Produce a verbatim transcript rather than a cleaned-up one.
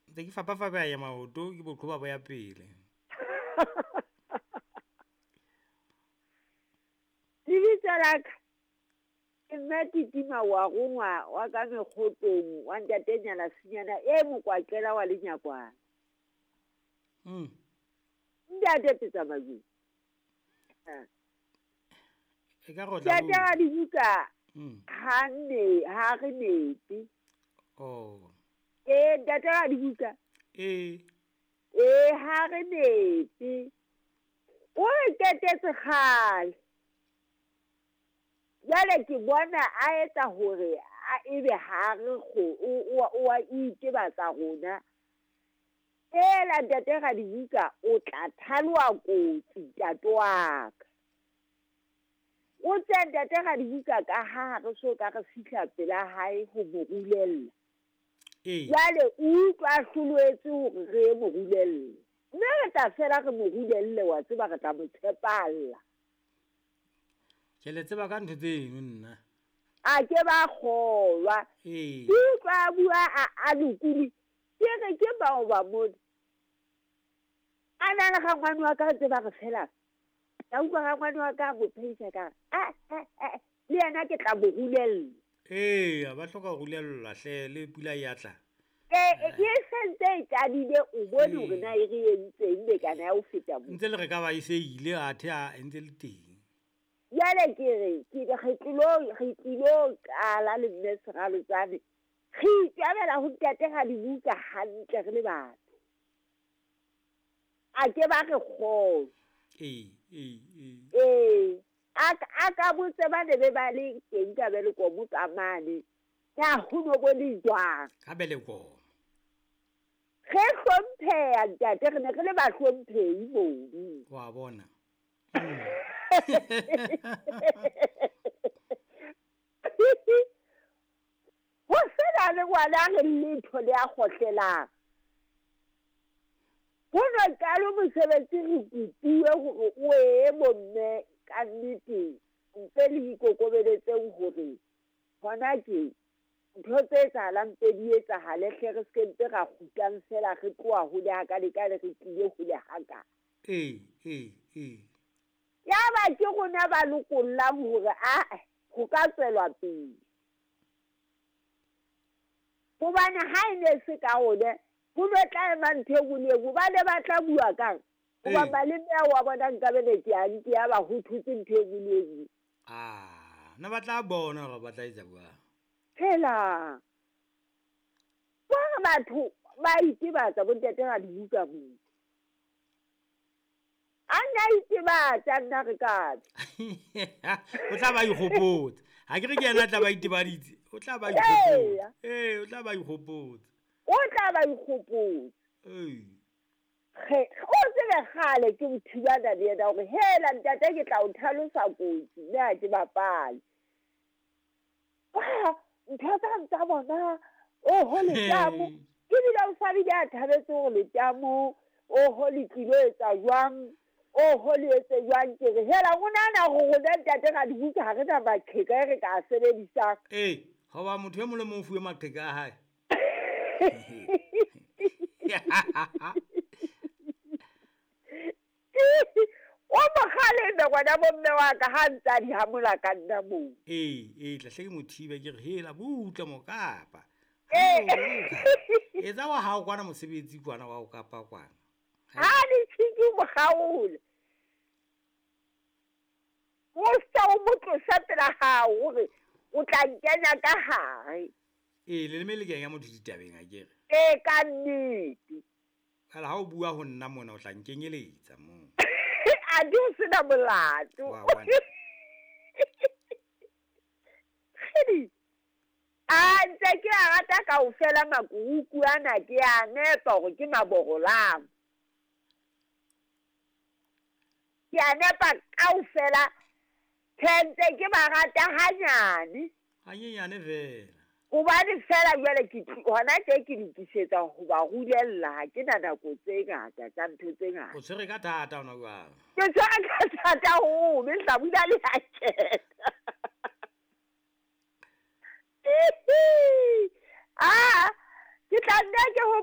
Ntse ke fapafapaya maoto ke boqhoba bo ya pele. Lebitso la ka ke mme Titima wa rongwa wa ka mekgotong wa ntate Nyala Senyana e mokwakela wa lenyakwana. Mm. Ntate Petsamajwe. E ka re o tla Ntate wa dibuka Mm. ha ne ha re nepe. Oh. Eh ntate wa dibuka. Eh. Eh ha re nepe. O re ketetse kgale. Jwale ke bona a etsa hore a ebe ha re kgo o o a itebatsa rona. Ela ntate Radibuka o tla thaloa kotsi ntate wa ka. O tse ntate Radibuka ka ha re so ka re fihla pela hae ho mo rulella. Ee. Jwale o utlwa a hloloetswe hore re mo rulelle. Mme re tla fela re mo rulelle wa tseba re tla mo tshepalla. Ke le tseba ka ntho tseno nna. A ke ba kgolwa. Ee. Ke utlwa a bua a a lokile. Ke re ke bao ba mona. A na le rangwane wa ka ntse ba re fela. Ka utlwa rangwane wa ka a mo phehisa ka re, "Ah, ah, ah, le yena ke tla mo rulella." Ee, ba hloka ho rulellwa hle le pula e ya tla. Eh, e sentse e qadile o bone hore Ee. na e re entseng bekana ya ho feta moo. Ntse le re ka ba e se ile athe a e ntse le teng. Jwale ke re ke re tlilo re tlilo qala le mme Seralotsane. Re itjabela ho ntate Radibuka hantle re le batho. A ke ba re kgolwe. Ee, ee, ee. Ee, a a ka botse ba ne be ba le teng ka Belekomo ka mane. Na ho no bo le jwang? Ka Belekomo. Re hlompheha ntate, re ne re le bahlomphehi mono. Wa bona. Ho sena le ngwana re letho le a kgohlelang. Ho no qale mosebetsi re kopuwe hore o ye bomme ka nnete mpe le ikokobeletseng hore hona ke ntho tse etsahalang mpe di etsahale hle re se mpe ra kgutlang fela re tloha hole hakale ka le re tlile hole haka. Ee, ee, ee. Yaba ke rona ba lokollang hore a ho ka tswelwa pele. Hobane ha e ne se ka rona ho no tla ema ntho e nngwe le e nngwe, ba ne ba tla bua kang? Hoba Ee. maleme ao wa bona nkabe ne ke a nke ya ba ho thotse ntho e nngwe le e nngwe. Ah, ne ba tla bona hore ba tla etsa jwang. Phela. Ba batho ba itebatsa bo ntate Radibuka moo. A nna itebatsa nna re ka. O tla ba ikgopotsa. Ha ke re ke yena a tla ba itebaditse. O tla ba ikgopotsa. Ee, o tla ba ikgopotsa. O tla ba ikgopotsa. Ee. Re o tsebe kgale ke mo thibana le yena hore hela ntate ke tla o tlhalosa kotsi mme ha ke bapale. Wa ntho tsa tsa bona oho letamo. Ebile o sa bile a thabetse hore letamo oho le tlilo etsa jwang. Oho le etse jwang ke re hela o nahana hore rona ntate Radibuka ha re na maqheka e re ka a sebedisang. Ee, hoba motho e mong le mong o fuwe maqheka a hae. O mokgaleme ngwana bomme wa ka ha ntse a di hamola ka nna moo. Ee, ee, tla hle ke mo thibe ke re hela butle mokapa. Ee. Etsa wa hao kwana mosebetsi kwana wa ho kapa kwana. Ha le tshiki mo kgaole. O sa o mo tlosa pela hao hore o tla nkenya ka hare. Ee, leleme le kenya motho ditabeng akere. Ee, ka nnete. Kala ha o bua ho nna mona o tla nkenyeletsa moo. A di o sena molato. Wa bona. Kgidi. A ntse ke a rata kaofela makuruku ana ke a nepa hore ke maborolang. Ke a nepa kaofela. Tjhe ke ba rata hanyane. Hanyenyane fela. Hobane fela jwale ke hona tje ke lokisetsa ho ba rulella, ha ke na nako tse ngata tsa ntho tse ngata. O tshwere ka thata hona jwale. Ke tshwere ka thata ho mme hlabula le a kena. Ah, ke tla nna ke ho